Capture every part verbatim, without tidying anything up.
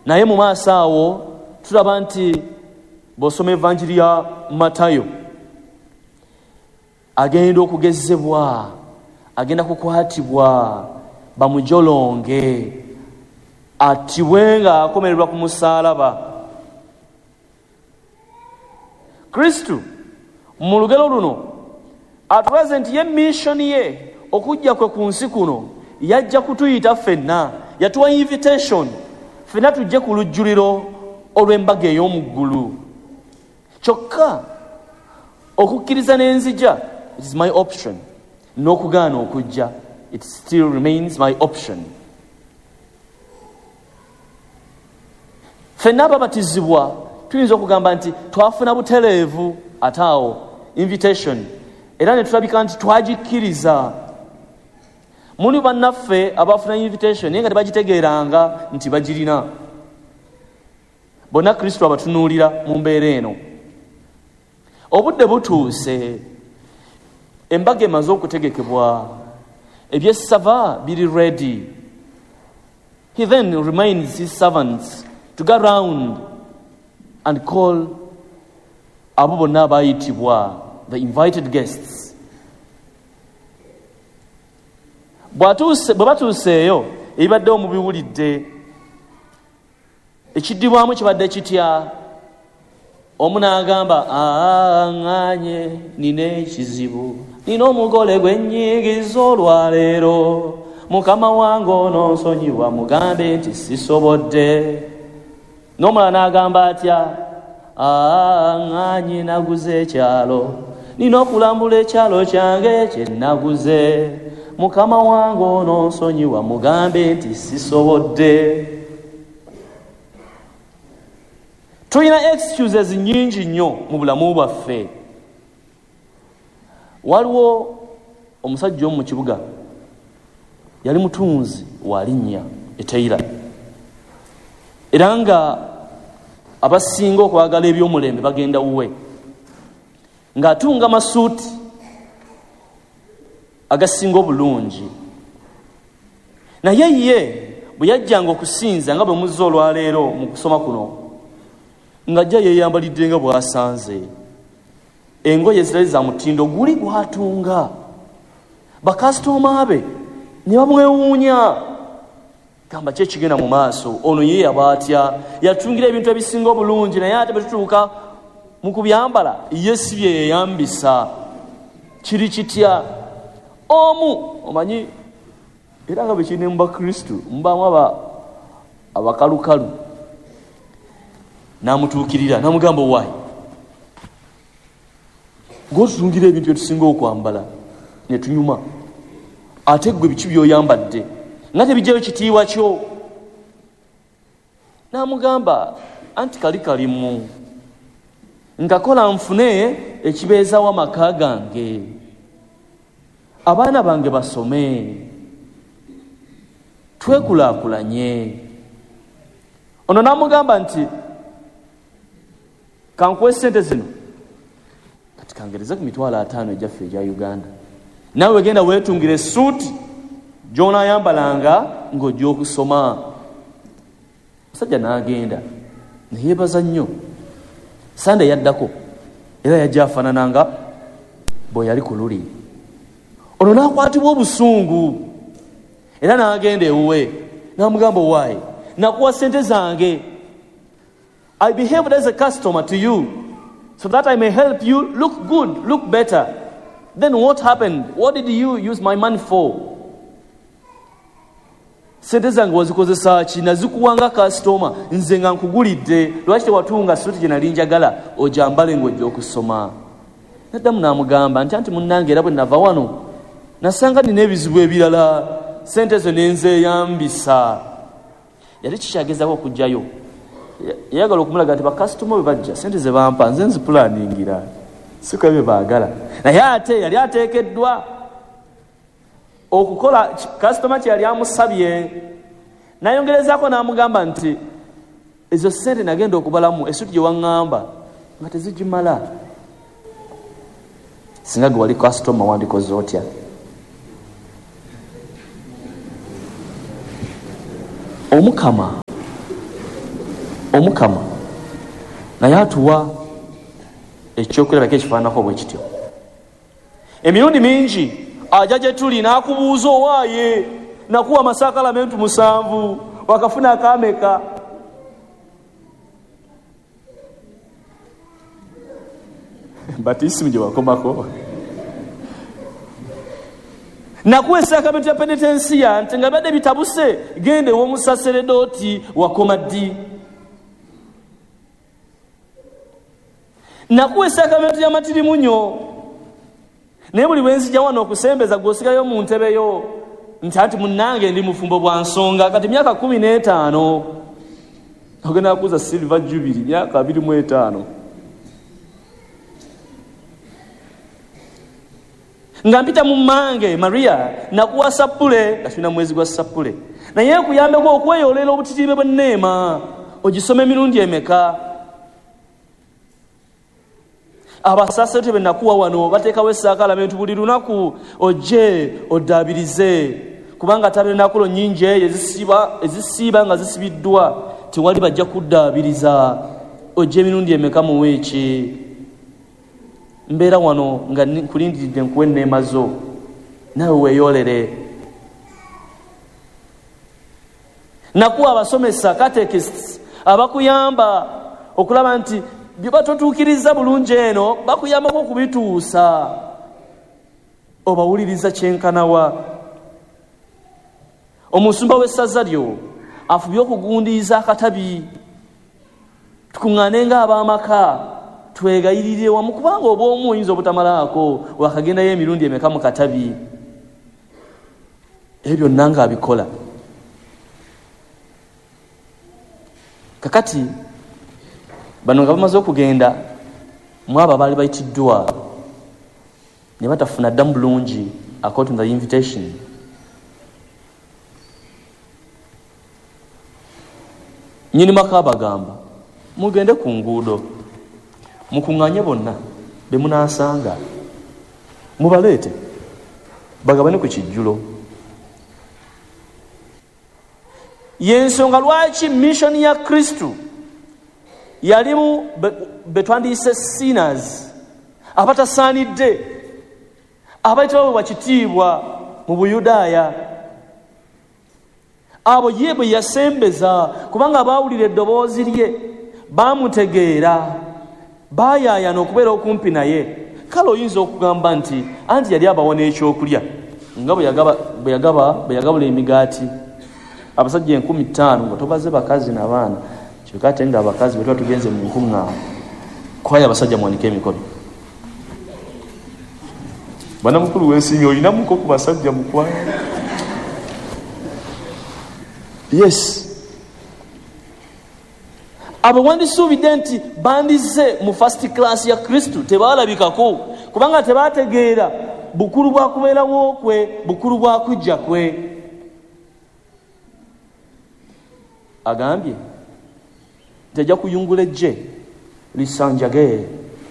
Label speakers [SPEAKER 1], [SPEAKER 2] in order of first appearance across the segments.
[SPEAKER 1] Naye mu maaso awo tulaba nti bw'osoma evanjiri ya Matayo, agenda okugezebwa, agenda kukwatibwa, bamujolonge, attibwe ng'akomererwa ku musaalaba. Kristo mu lugero luno atulaze nti ye mission ye okujja kwe ku nsi kuno yajja kutuyita ffenna, yatuwa invitation ffenna tujje ku lujjuliro olw'embaga ey'omu ggulu. Kyokka okukkiriza n'enzija, it is my option, n'okugaana okujja, it still remains my option. Ffenna ababatizibwa tuyinza okugamba nti twafuna butereevu ate awo invitation, era ne tulabika nti twagikkiriza. Muli bannaffe abafuna invitation naye nga tebagitegeeranga nti bagirina. Bonna Kristo abatunuulira mu mbeera eno. Obudde butuuse, embaga emaze okutegekebwa, ebyessava biri ready. He then reminds his servants to go round and call abo bonna abayitibwa, the invited guests. Bwe batuuseeyo ebibaddewo mubiwulidde. Ekiddibwamu kibadde kitya? Omu n'agamba, ŋŋaanye nina ekizibu, nina omugole gwe nnyigiza olwaleero, mukama wange ono nsonyiwa, mugambe nti sisobodde. N'omulala n'agamba atya? Ŋŋaanye naguze ekyalo, nina okulambula ekyalo kyange kye naguze, mukama wange ono nsonyiwa, mugambe nti sisobodde. Tulina excuses nnyingi nnyo mu bulamu bwaffe. Waliwo omusajja omu mu kibuga, yali mutunzi wa linnya eteira, era nga abasinga okwagala ebyomulembe bagenda wuwe, ng'atunga masuuti agasinga obulungi. Naye ye bwe yajjanga okusinza nga bwe muzze olwaleero mu kusoma kuno, ng'ajja yeeyambalidde nga bw'asanze, engoye zitali za mutindo guli gwatunga. Bakasitoma be ne bamwewuunya, gamba ki ekigenda mu maaso, ono ye yaba atya, yatungira ebintu ebisinga obulungi, naye ate bwe tutuuka mu kubyambala ye si bye yeeyambisa. Kiri kitya? Omu omanyi era nga bwe kiri ne mu Bakristo mubaamu abakalukalu, n'amutuukirira n'amugamba, owaayi gw'otutungira ebintu bye tusinga okwambala ne tunyuma, ate ggwe biki by'oyambadde nga tebijjayo kitiibwa kyo? N'amugamba, anti kali kalimu nkakola nfune ekibeezawo amaka gange, abaana bange basome, twekulaakulanye. Ono n'amugamba nti kankuwe sente zino, kati kangereze ku mitwalo ataano egyaffe egya Uganda, naawe genda weetungire essuuti gy'onaayambalanga ng'ojja okusoma. Omusajja n'agenda neyeebaza nnyo. Sande yaddako era yajja afaanananga bwe yali ku luli. Ono n'akwatibwa obusungu era n'agenda ewuwe n'amugamba, owaayi nakuwa sente zange, I behaved as a customer to you so that I may help you look good, look better. Then what happened? What did you use my money for? Sente zange wazikozesa ki? Nazikuwanga kasitoma, nze nga nkugulidde, lwaki tewatunga suuti gye nali njagala ogyambale ng'ojja okusoma? Naddamu n'amugamba nti anti munnange era bwe nava wano nasanga nina ebizibu ebirala, sente ezo ne nzeeyambisa. Yali kikyagezaako okuggyayo, yayagala okumulaga nti bakasitoma bwe bajja sente ze bampa nze nzipulaningira, si kwa bye baagala. Naye ate yali ateekeddwa okukola kasitoma kye yali amusabye. Nayongerezaako n'amugamba nti ezo sente nagenda okubalamu essuuti gye waŋŋamba nga tezigimala, singa gwe wali kasitoma wandikoze otya? Omukama Omukama naye atuwa ekyokulabako ekifaananako bwe kityo. Emirundi mingi ajja gye tuli n'akubuuza, owaaye nakuwa amasakalamentu musanvu, wakafuna akameka? Batisimu gye wakomako. Nakuwa esakramenti ya penitensiya nti nga badde bitabuse, genda ew'omusaseredooti, wakoma ddi? Nakuwa esakramenti ya matirimunyo, naye buli bwenzijja wano okusembeza gw'osigayo mu ntebe yo nti anti munnange ndi mufumbo bwa nsonga, kati myaka kumi n'etaano ogenda kukuza silver jubilee myaka abiri mu etaano. Nga mpita mu mmange Maria nakuwa sappule, katulina mwezi gwa sappule, naye nkuyambeko okweyolera obutitiibe bw'enneema, ogisoma emirundi emeka? Abasaserote be nakuwa wano bateekawo essakalamentu buli lunaku, ojje oddaabirize, kubanga tabernakulo nnyingi eyo ezisiiba ezisiiba nga zisibiddwa, tewali bajja kuddaabiriza. Ojje emirundi emeka mu wiiki? Mbeera wano nga nkulindiridde nkuwe enneema zo, naawe weeyolere. Nakuwa abasomesa catechists abakuyamba okulaba nti bye batotuukiriza bulungi eno bakuyambako okubituusa, obawuliriza kyenkanawa. Omusumba w'essaza lyo afubye okugundiiza akatabi, tukuŋŋaane ng'ab'amaka twegayirire wamu, kubanga obw'omu oyinza obutamalaako, wakagendayo emirundi emeka mu katabi. Ebyo byonna ng'abikola. Kakati bano nga bamaze okugenda, mu abo abaali bayitiddwa ne batafuna ddamu bulungi according to the invitation, nnyini maka abagamba, mugende ku nguudo mukuŋŋaanye bonna be munaasanga, mubaleete bagabane ku kijjulo. Y'ensonga lwaki mission ya Kristo yalimu be twandiyise sinners, abatasaanidde, abayitibwa kitiibwa mu Buyudaaya. Abo ye bwe yasembeza, kubanga baawulira eddoboozi lye, baamutegeera, baayaayana okubeera okumpi naye. Kale oyinza okugamba nti anti yali abawa n'ekyokulya, nga bwe yagaba bwe yagaba bwe yagabula emigaati abasajja enkumi ttaano nga tobaze bakazi n'abaana. Kyokka ate nga abakazi bwe tuba tugenze mu nkuŋŋaana, kwayo abasajja muwanike emikono. Bwana mukulu weesiimye, olinamuko ku basajja mukwano? Yes. Abo wandisuubidde nti bandize mu first class ya Kristo, tebaalabikako, kubanga tebategeera bukulu bwa kubeerawo kwe, bukulu bwa kujja kwe. Agambye tejja kuyungula ejje lisanjage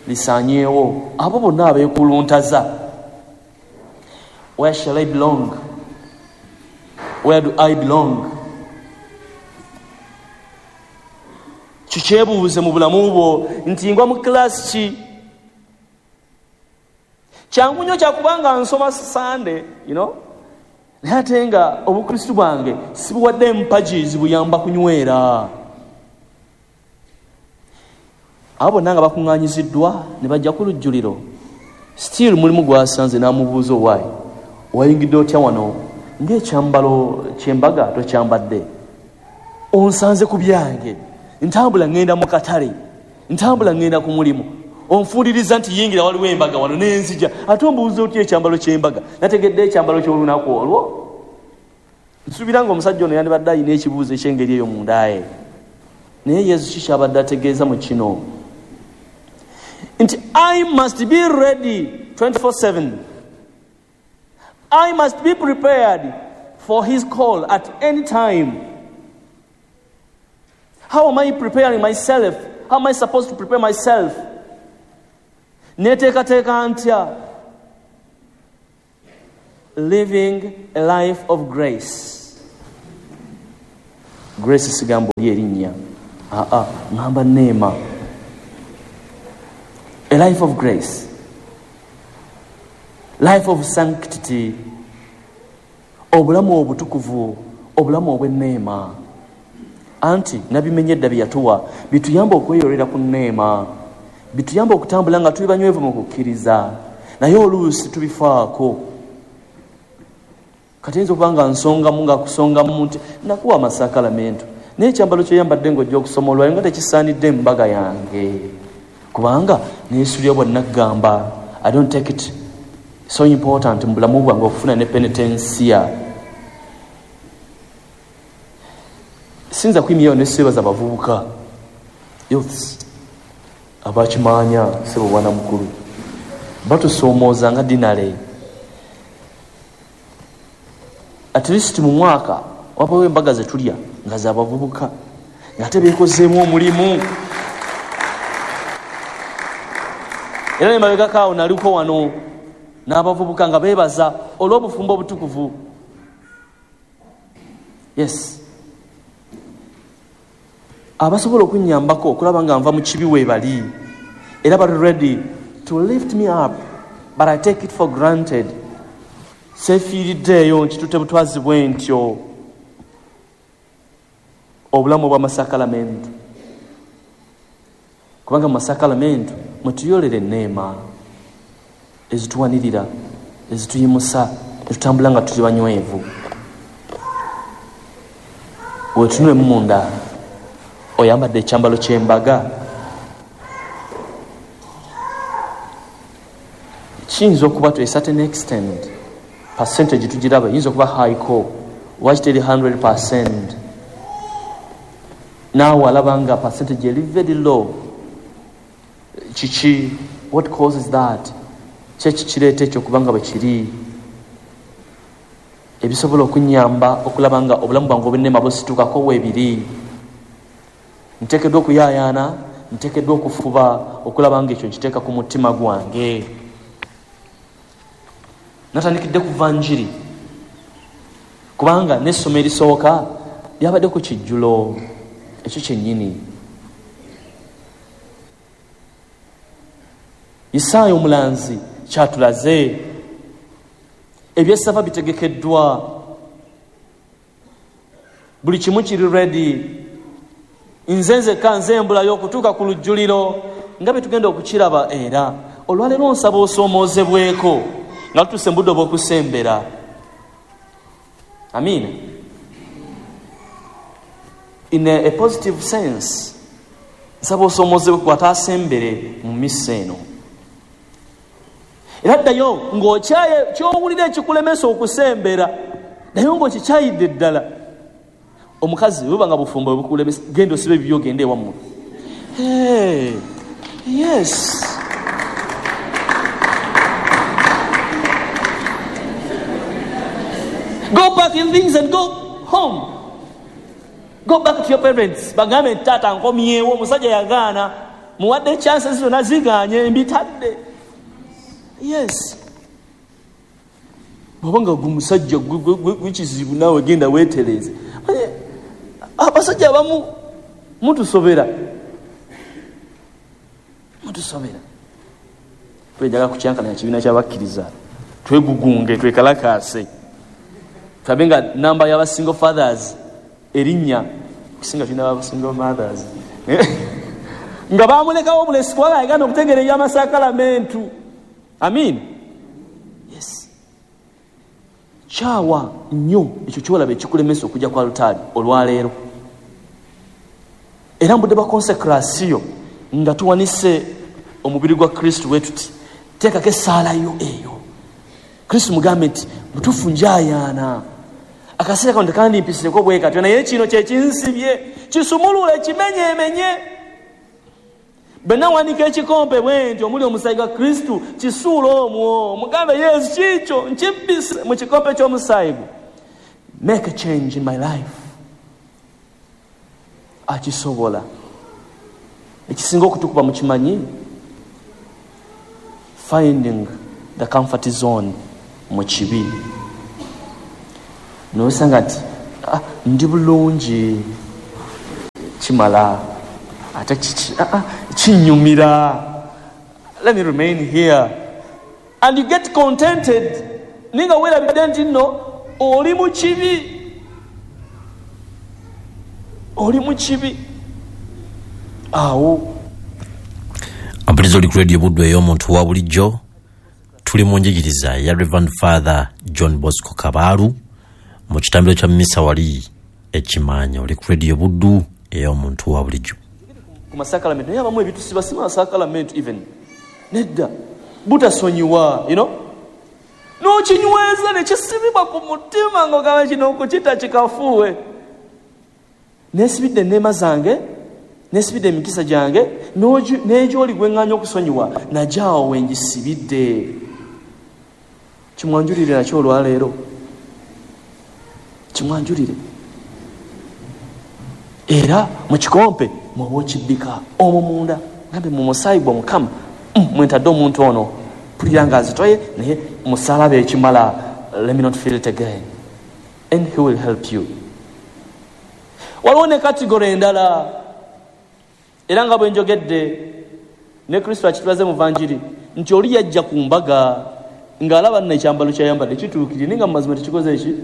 [SPEAKER 1] lisanyeewo abo bonna abeekuluntaza. Where shall I belong? Where do I belong? Kikyebuuze mu bulamu bwo nti ngwa mu class ki? Kyangu nnyo kyakubanga nsoma Sunday, you know, naye ate nga obukristu bwange sibuwadde empagi zibuyamba kunywera. Abo bonna nga bakuŋŋaanyiziddwa ne bajja ku lujjuliro, still mulimu gwasanze n'amubuuza, owaayi wayingidde otya wano ng'ekyambalo ky'embaga tokyambadde? Onsanze ku byange, ntambula ŋŋenda mu katale, ntambula ŋŋenda ku mulimu, onfuuliriza nti yingira waliwo embaga wano n'enzija, ate ombuuza otya ekyambalo ky'embaga? Nategedde ekyambalo ky'olunaku olwo. Nsuubira ng'omusajja ono yandibadde alina ekibuuzo eky'engeri eyo munda ye. Naye Yesu ki kyabadde ategeeza mu kino? Nti I must be ready twenty-four seven. I must be prepared for his call at any time. How am I preparing myself? How am I supposed to prepare myself? Neteekateeka ntya? Living a life of grace. Grace sigambo erinnya. Aa, ŋŋamba neema, a life of grace, life of sanctity, obulamu obutukuvu, obulamu obw'enneema. Anti nabimenye edda bye yatuwa bituyamba okweyolera ku nneema, bituyamba okutambula nga tuli banywevu mu kukkiriza, naye oluusi tubifaako. Kati eyinza okuba nga nsongamu nga kusongamu nti nakuwa amasakalamentu, naye ekyambalo kyoyambadde ng'ojja okusoma olwayo nga tekisaanidde embaga yange, kubanga neesulya bwa naggamba. I don't take it so important mu bulamu bwange okufuna ne penitensiya. Sinza kuyimirayo ne seebaza abavubuka, youths abakimanya sebo bwana mukulu, batusoomooza nga dinale. At least mu mwaka wabawo embaga ze tulya nga z'abavubuka ng'ate beekozeemu omulimu. Era ne mabegako awo naliko wano n'abavubuka nga beebaza olw'obufumbo obutukuvu. Yes, abasobola okunnyambako okulaba nga nva mu kibi weebali, era bali ready to lift me up, but I take it for granted. Seefiiriddeeyo nkitutte butwazi bwe ntyo obulamu obw'amasakalamentu, kubanga mu masakalamentu mwetuyolera enneema ezituwanirira, ezituyimusa, etutambula nga tuli banywevu. Weetunulemu munda, oyambadde ekyambalo ky'embaga. Kiyinza okuba to a certain extent percentage tugiraba eyinza okuba highko, lwaki teri hundred percent? Naawe alaba nga percentage eri very low. Kiki? What causes that? Kyeki kireeta ekyo okuba nga bwe kiri? Ebisobola okunnyamba okulaba nga obulamu bwange obw'enneema busitukako weebiri. Nteekeddwa okuyaayaana, nteekeddwa okufuba okulaba nga ekyo nkiteeka ku mutima gwange. Natandikidde kuva njiri, kubanga n'essomo erisooka lyabadde ku kijjulo ekyo kyennyini. Isaaya omulanzi kyatulaze, ebyessava bitegekeddwa, buli kimu kiri ready. Nze nzekka nze mbulayo okutuuka ku lujjuliro nga bwe tugenda okukiraba. Era olwaleero nsaba osoomoozebweko nga tutuuse mu budde obw'okusembera. Amiina. In a, a positive sense, nsaba osoomoozebweko ataasembere mu missa eno. Era ddayo ng'okyaye ky'owulira ekikulemesa okusembera, ddayo ng'okikyayidde ddala. Omukazi bw'oba nga bufumbo bwe bukulemesa, genda osibe ebibyo ogende ewammwe. Hey, yes. Go back in things and go home. Go back to your parents. Bagambe taata nkomyewo, omusajja yagaana, muwadde chances zonna zigaanye, mbitadde. Yes. Bw'oba nga gwe musajja gwekizibu naawe genda weetereeze. Abasajja abamu mutusobera, mutusobera. Twejagala kukyankalanya kibiina ky'abakkiriza, twegugunge, twekalakaase, tulabe nga namba y'aba single fathers erinnya kusinga tulina aba single mothers nga bamulekawo obulesi kubanga yagaana okutegeera eby'amasakalamentu. Amiina. Yes. Kyawa nnyo ekyo kyolaba ekikulemesa okujja ku alutaali olwaleero. Era mbudde ba konsekrasiyo nga tuwanise omubiri gwa Kristo bwe tuti, teekako essaala yo eyo. Kristo mugambe nti butuufu njayaana, akaseera kano tekandimpisireko bwe katyo, naye kino kye kinsibye, kisumulule, kimenyeemenye. Bwe nawanika ekikompe bwe nti omuli omusaayi gwa Kristo, kisuule omwo, mugambe Yesu kiikyo nkibbise mu kikompe ky'omusaayi gwe. Make a change in my life. Akisobola. Ekisinga okutukuba mukimanyi, finding the comfort zone mu kibi. Nosanga nti ah, ndi bulungi kimala. Ate kiki? Ah, kinyumira. Let me remain here. And you get contented. Ninga weerabidde nti nno oli mu kibi. Oli mu kibi. Awo.
[SPEAKER 2] Ampuliriza, oli ku Radio Buddu ey'omuntu wa bulijjo. Tuli mu njigiriza ya Reverend Father John Bosco Kabaalu mu kitambiro kya misa wali ekimaanya. Oli ku Radio Buddu ey'omuntu wa bulijjo.
[SPEAKER 1] Ku masakalamento naye abamu ebitusiba si masakalamento even. Nedda. Butasonyiwa, you know? N'okinyweza ne kisibibwa ku mutima ng'ogamba kino okukita kikafuuwe. Neesibidde enneema zange, neesibidde emikisa gyange, n'egyoli gwe ŋŋaanya okusonyiwa, najaawo we ngisibidde. Kimwanjulire nakyo olwaleero. Kimwanjulire. Era mu kikompe mwoba okibbika omwo munda, gambe mu musaayi gwa Mukama mwentadde omuntu ono, mpulira nga azitoye naye musalaba ekimala, let me not feel it again. And he will help you. Waliwo ne kategori endala, era nga bwe njogedde ne Kristo akitulaze mu vanjiri nti oli yajja ku mbaga ng'alaba nno ekyambalo kyayambadde kituukirire, naye nga mu mazima tekikoze eki.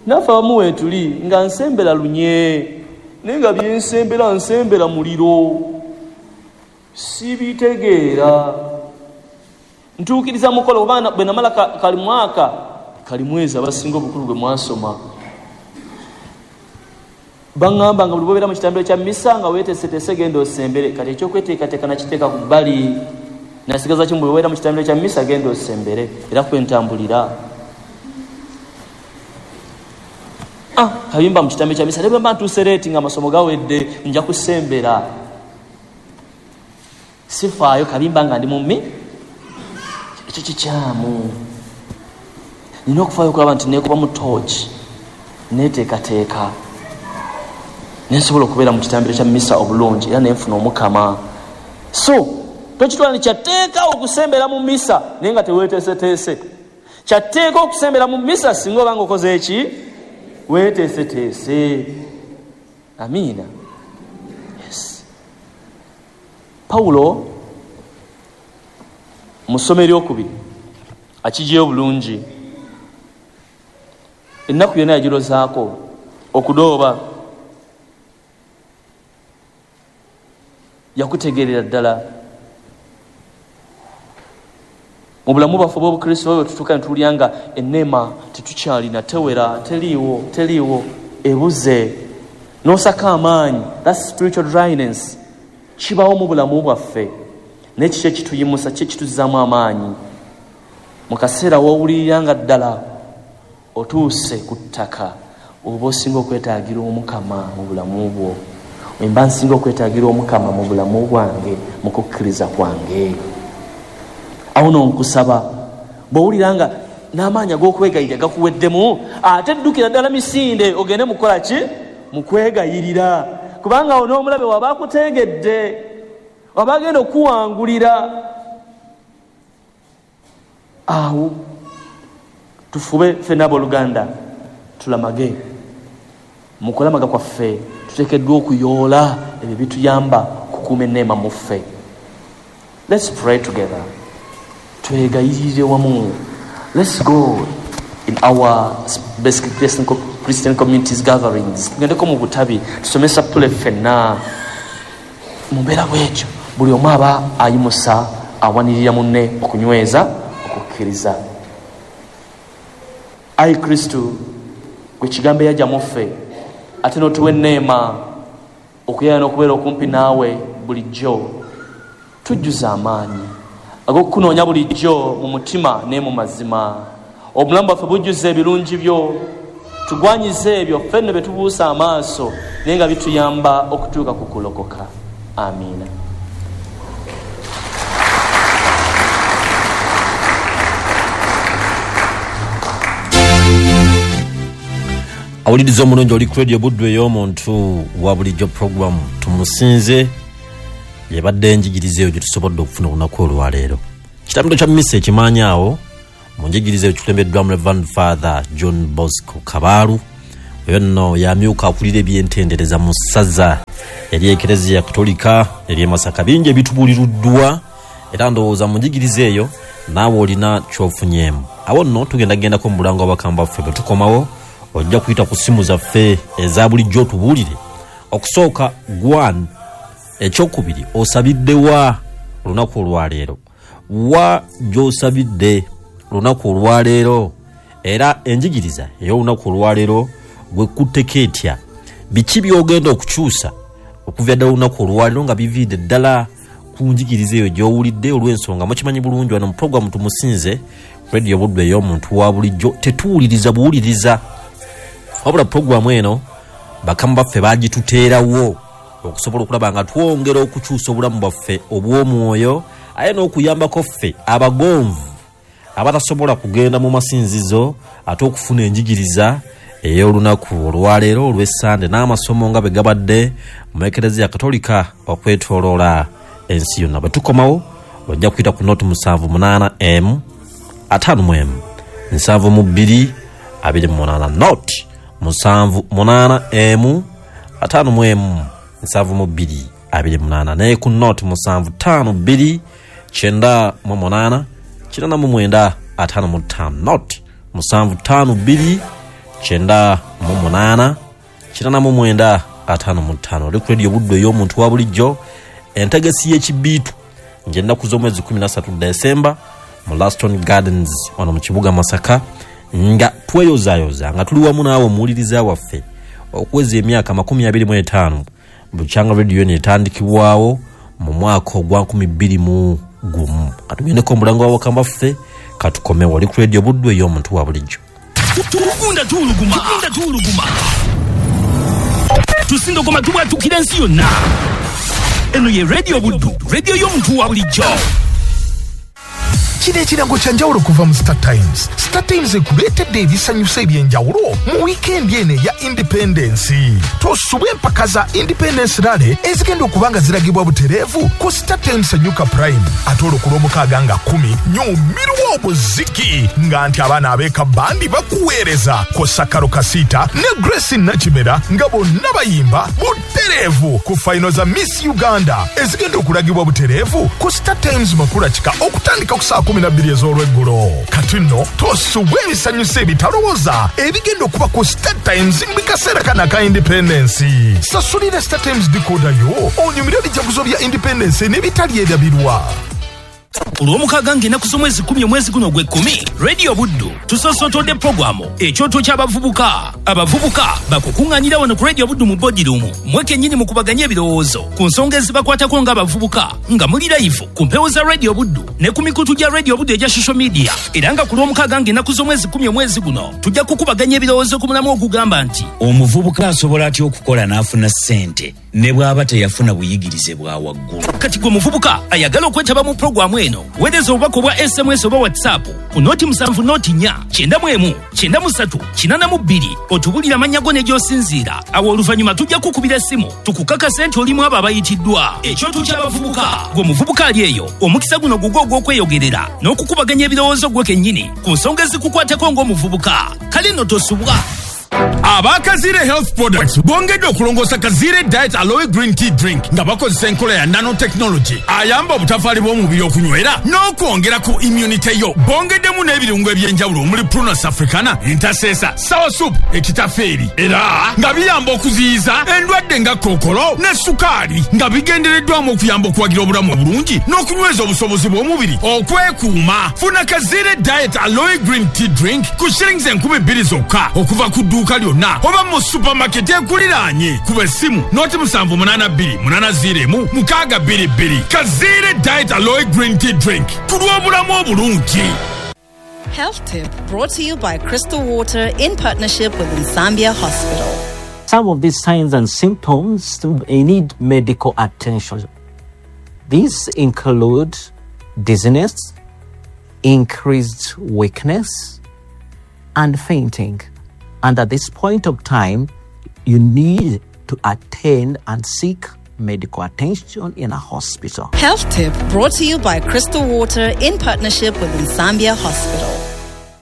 [SPEAKER 1] Naffe abamu weetuli nga nsembera lunye, naye nga byensembera nsembera muliro, sibitegeera. Ntuukiriza mukolo oba bwe namala kali mwaka kali mwezi abasinga obukulu gwe mwasoma baŋŋamba nga buli bw'obeera mu kitambiro kya misa nga weeteeseteese genda osembere. Kati ekyokweteekateeka nakiteeka ku bbali, nasigaza kimu, bwe weera mu kitambiro kya misa genda osembere, era kwentambulira. Ah, kayimba mu kitambiro kya misa ne bwe mba ntuuse leeti nga amasomo gawedde nja kusembera, sifaayo kabimba nga ndi mu mmi. Ekyo kikyamu. Nina okufaayo okulaba nti neekuba mu tooki, neeteekateeka, nensobola okubeera mu kitambiro kya misa obulungi era nenfuna Omukama. So tokitwala nti kyatteeka okusembera mu misa naye nga teweeteeseteese. Kyatteeka okusembera mu misa singa oba nga okoze eki? Weeteeseteese. Amiina. Yes. Pawulo mu ssomo eryokubiri akiggyeyo bulungi. Ennaku yonna yagirozaako okudooba, yakutegeerera ddala. Mu bulamu bwaffe obw'Obukristo bwe tutuuka ne tuwulira nga enneema tetukyalina, tewera, teriiwo, teriiwo, ebuze. N'osaka amaanyi, that's spiritual dryness. Kibawo mu bulamu bwaffe. Naye kiki ekituyimusa, ki ekituzzaamu amaanyi? Mu kaseera w'owulirira nga ddala otuuse ku ttaka, oba osinga okwetaagira Omukama mu bulamu bwo. Mba nsinga okwetaagira Omukama mu bulamu bwange, mu kukkiriza kwange. Awo nno nkusaba, bw'owulira nga n'amaanyi ag'okwegayirira gakuweddemu, ate ddukira ddala misinde ogende mukola ki? Mu kwegayirira. Kubanga awo n'omulabe waba akutegedde, waba agenda okuwangulira. Awo tufube ffenna abooluganda tulamage. Mu kulamaga kwaffe tuteekeddwa okuyoola ebyo bituyamba okukuuma enneema mu ffe. Let's pray together. Twegayirire wamu. Let's go in our basic Christian, Christian communities gatherings. Tugendeko mu butabi, tusome sapule ffenna. Mu mbeera bw'etyo buli omu aba ayimusa awanirira munne okunyweza okukkiriza. Ayi Kristo, gwe kigambo eyajja mu ffe, ate n'otuwa enneema okuyaya n'okubeera okumpi naawe bulijjo, tujjuza amaanyi ag'okukunoonya bulijjo mu mutima ne mu mazima. Obulamu bwaffe bujjuza ebirungi byo, tugwanyize ebyo ffe nno bye tubuusa amaaso naye nga bituyamba okutuuka ku kulokoka. Amiina.
[SPEAKER 2] Awuliriza omulungi, oli ku Radio Buddu ey'omuntu wa bulijjo program Tumusinze, yebadde enjigiriza eyo gye tusobodde okufuna olunaku olwaleero. Kitambiro kya misa ekimaanyi awo mu njigiriza eyo kikulembeddwamu Reverend Father John Bosco Kabaalu. Oyo nno yamyuka akulira ebyentendereza mu ssaza Ery'Ekereziya Katolika ery'e Masaka. Bingi ebitubuuliruddwa, era ndowooza mu njigiriza eyo naawe olina ky'ofunyeemu. Awo nno tugenda gendako mu bulango bw'abakamba baffe. Bwe tukomawo ojja kuyita ku ssimu zaffe eza bulijjo otubuulire. Okusooka gwan, ekyokubiri osabidde wa olunaku olwaleero, wa gy'osabidde olunaku olwaleero, era enjigiriza ey'olunaku olwaleero gwe kutteko etya, biki by'ogenda okukyusa okuva ddala olunaku olwaleero nga biviidde ddala ku njigiriza eyo gy'owulidde. Olw'ensonga mukimanyi bulungi wano mu puroguramu Tumusinze Radio Buddu ey'omuntu wa bulijjo tetuwuliriza buwuliriza, wabula puroguramu eno bakama baffe bagituteerawo okusobola okulaba nga twongera okukyusa obulamu bwaffe obw'omwoyo, aye n'okuyambako ffe abagonvu abatasobola kugenda mu masinzizo ate okufuna enjigiriza ey'olunaku olwaleero olw'Essande n'amasomo nga bwe gabadde mu Ekereziya Katolika okwetooloola ensi yonna. Bwe tukomawo ojja kuyita ku noti musanvu munaana emu ataano mu emu nsanvu mu bbiri abiri mu munaana, noti musanvu munaana emu ataano mu emu nsanvu mu bbiri abiri munaana, naye ku noti musanvu ttaano bbiri kyenda mu munaana kinaana mu mwenda ataano mu ttaano, noti musanvu ttaano bbiri kyenda mu munaana kinaana mu mwenda ataano mu ttaano. Oli ku Radio Buddu ey'omuntu wa bulijjo, entegesi y'ekibiitu ng'ennaku z'omwezi kumi na ssatu Desemba mu Laston Gardens wano mu kibuga Masaka, nga tweyozaayoza nga tuli wamu naawe omuwuliriza waffe okuweza emyaka makumi abiri mu etaano bukyanga radio eno etandikibwawo mu mwaka ogwa nkumi bbiri mu gumu. Katugendeko omulango w'abakama baffe, katukomewo. Oli ku Radio Buddu ey'omuntu wa bulijjo.
[SPEAKER 3] Tugunda tuwuluguma, tugunda tuwuluguma, tusindogoma tubwatukira ensi yonna. Eno ye Radio Buddu, radio y'omuntu wa bulijjo.
[SPEAKER 4] Kino ekirango kya njawulo kuva mu Star Times. Star Times ekuleetedde ebisanyusa eby'enjawulo mu wiikendi eno eya Independence. Tosubwa empaka za Independence Rally ezigenda okuba nga ziragibwa butereevu ku Star Times Nyuka Prime. Ate olwo ku Lwomukaaga nga kkumi nyumirwa obuziki nga nti abaana ab'eka bandi bakuweereza kw'ossa Karo Kasita ne Grace Nakimera nga bonna bayimba butereevu ku fayino za Miss Uganda ezigenda okulagibwa butereevu ku Star Times Makula Kika okutandika ku saa kumi na bbiri ez'olweggulo. Kati nno tosubwa ebisanyusa ebitalowooza ebigenda okuba ku Star Times mu kaseera kano aka Independence. Sasulira Star Times decoder yo onyumire ebijaguzo bya Independence n'ebitali erabirwa.
[SPEAKER 3] Olwomukaaga ng'ennaku z'omwezi kkumi omwezi guno ogw'ekkumi, Radio Buddu tusoosotodde puroguramu ekyoto ky'abavubuka. Abavubuka bakukuŋŋaanira wano ku Radio Buddu mu boardroom mwe kennyini mukubaganye ebirowoozo ku nsonga ezibakwatako ng'abavubuka nga muli live ku mpewo za Radio Buddu ne ku mikutu gya Radio Buddu egya social media. Era nga ku Lwomukaaga ng'ennaku z'omwezi kkumi omwezi guno tujja kukubaganya ebirowoozo ku mulamu ogugamba nti
[SPEAKER 5] omuvubuka asobola atya okukola n'afuna ssente ne bw'aba teyafuna buyigirize bwa waggulu.
[SPEAKER 3] Kati gwe muvubuka ayagala okwetaba mu puroguramu eno, weereza obubaka obwa S M S oba WhatsApp ku noti musanvu noti nnya kyenda mu emu kyenda mu ssatu kinaana mu bbiri otubulire amannya go ne gy'osinziira. Awo oluvannyuma tujja kukubira essimu tukukakase nti olimu abo abayitiddwa. Ekyoto ky'abavubuka, gwe muvubuka ali eyo omukisa guno gugwo ogw'okweyogerera n'okukubaganya ebirowoozo gwe kennyini ku nsonga ezikukwatako ng'omuvubuka. Kale nno tosubwa.
[SPEAKER 6] Abakazire Health Products bongedde okulongoosa Kazire Diet Aloe Green Tea Drink nga bakozesa enkola ya nanotechnology ayamba obutafaali bw'omubiri okunywera n'okwongera ku immunity yo. Bongeddemu n'ebirungo eby'enjawulo omuli Prunus africana, intercessor, sour soup, ekitafeeri, era nga biyamba okuziyiza endwadde nga kookolo ne sukaali, nga bigendereddwamu okuyamba okuwagira obulamu obulungi n'okunyweza obusobozi bw'omubiri okwekuuma. Funa Kazire Diet Aloe Green Tea Drink ku shillings enkumi bbiri zokka okuva ku dduuka lyonna oba mu supermarket ekuliraanye. Kuba essimu noti musanvu munaana bbiri munaana ziro emu mukaaga bbiri bbiri. Kazire Diet Aloe Green Tea Drink ku lw'obulamu obulungi.
[SPEAKER 7] Health Tip brought to you by Crystal Water in partnership with Nsambya Hospital.
[SPEAKER 8] Some of these signs and symptoms need medical attention. These include dizziness, increased weakness, and fainting. And at this point of time, you need to attend and seek medical attention in a hospital.
[SPEAKER 7] Health Tip brought to you by Crystal Water in partnership with Nsambya Hospital.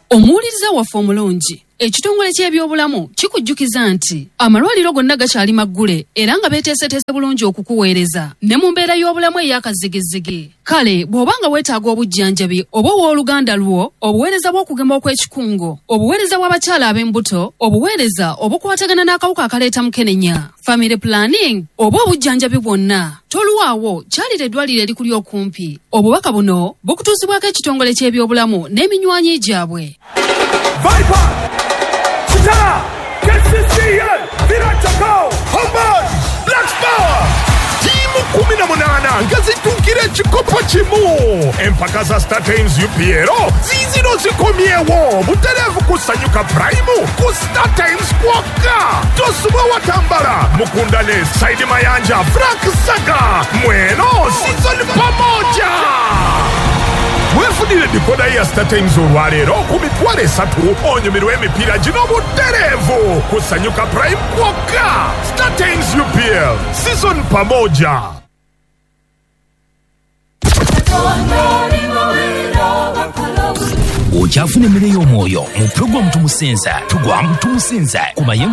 [SPEAKER 9] Omuwuliriza waffe omulungi, Ekitongole ky'ebyobulamu kikujjukiza nti amalwaliro gonna gakyali maggule era nga beeteeseteese bulungi okukuweereza ne mu mbeera y'obulamu ey'akazigizigi. Kale bw'oba nga weetaaga obujjanjabi oba owooluganda lwo, obuweereza bw'okugema okw'ekikungo, obuweereza bw'abakyala ab'embuto, obuweereza obukwatagana n'akawuka akaleeta mukenenya, family planning oba obujjanjabi bwonna, tolwawo kyalira eddwaliro erikuli okumpi. Obubaka buno bukutuusibwako ekitongole ky'ebyobulamu n'eminywanyi gyabwe.
[SPEAKER 10] Viper, Kitara, K C C L, Virachako,
[SPEAKER 4] Homeboys, Black Power. Tiimu kumi na munaana nga zituukira ekikopo kimu. Empaka za Star Times U P L ziizino zikomyewo butereevu ku Sanyuka Prime ku Star Times kwokka. Tosubwa Watambala, Mukundane, Saidi Mayanja, Frank Saga, Mweno, season pamoja. Wefunire dikoda ya Star Times olwaleero ku mitwalo esatu onyumirwe emipiira gino butereevu ku Sanyuka Prime kwokka. Star Times U P L season pamoja.
[SPEAKER 3] Okyafuna emmere y'omwoyo mu pulogulaamu Tumusinza, tugwa mu Tumusinza ku mayengo.